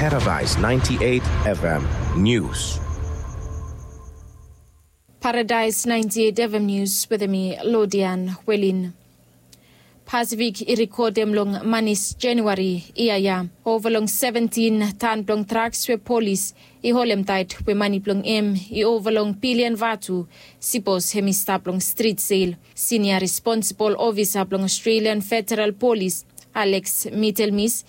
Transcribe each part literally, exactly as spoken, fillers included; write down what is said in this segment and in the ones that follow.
Paradise ninety-eight F M News. Paradise ninety-eight F M News wetem mi Lodian Welin. Pasifik i rekodem long manis Januari yia ya ova long seventin tan blong draks we polis i holemtaet we mani blong hem i ova long bilian vatu. Sipos hem i stap long strit sel, sinia responsibol ofisa blong Australian Federal Polis, Alex Mitelmis,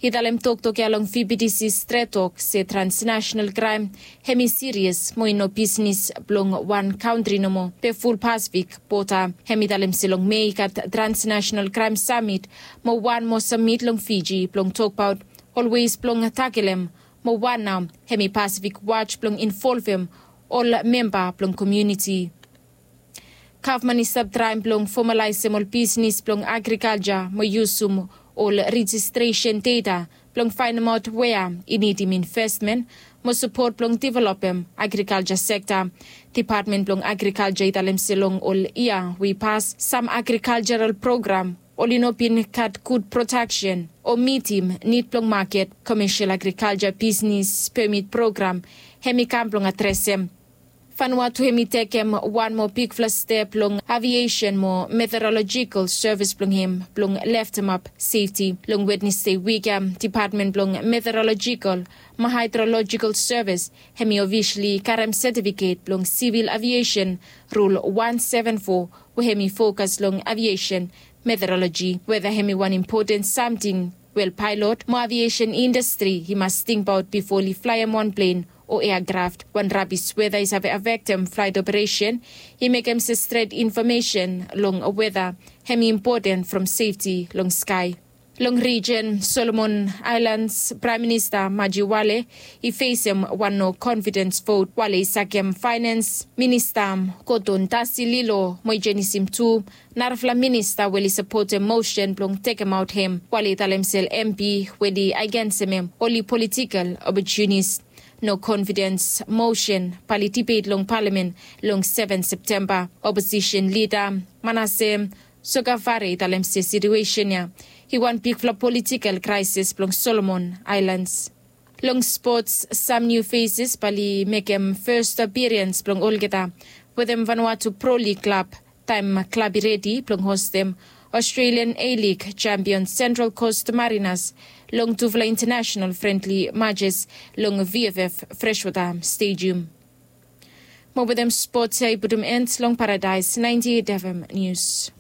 i talem toktok ya long V B T C Stret Tok se transnational kraem hem i sirias mo i no bisnis blong wan kantri nomo be ful Pasifik bota. Hem i talem se long Mei gat transnational kraem samit mo wan mo samit long Fiji blong tokbaot olwes blong takelem mo wan nao hem i Pasifik Watch blong involvem ol memba blong komuniti. Gavman i stap traem blong fomalaesem ol bisnis blong agrikalja mo yusum ol rejistresen deta blong faenemaot wea i nidim investmen mo sapot blong developem agrikalja sekta. Depatmen blong agrikalja i talem se long ol yia we i pas sam agrikaljaral program oli no bin gat gud prodaksen o mitim nid blong maket. Komesel agrikalja bisnis pemit program hem i kam blong adresem. Vanuatu hem i tekem wan moa bigfala step long aviesen mo meterolojikal sevis blong hem blong leftemap sefti. Long Wednesde wik ya, depatmen blong meterolojikal mo haedrolojikal sevis hem i ofisali karem setifiket blong sivil aviesen rul wan seven fo we hem i fokas long aviesen meteroloji weta hem i wan impoten samting. Wel, paelot mo aviesen indastri i mas tingbaot bifo oli flaem wan plen o eakraf. Wan rabis weta i save afektem flaet operesen i mekem se stret infomesen long weta hem i impoten from sefti long skae. Long rijen Solomon Aelans, Praem Minista Maji Wale i fesem wan no konfidens vot. Wale i sakem faenens minista Koton Tasi Lilo mo i jenisim tu narafala minista we oli sapotem mosen blong tekemaot hem. Wale i talem se ol M P we oli agensem hem oli politikel opotunis. No konfidens mosen bae oli dibet long palamen long seven Septemba. Oposisen lida Manase Sokafare i talem se situesen ya i wan bigfala politikel kraesis blong Solomon Aelans. Long spots, sam niu fesis bae oli mekem fes apirians blong olgeta wetem Vanuatu Pro Lig klab taem klab i redi blong hostem Australian A-League jampion Central Coast Mariners long tufala intanasenal frendli majes long V F F Freshwater Stadium. Mo wetem spots ya i putum en long Paradise ninety-eight F M News.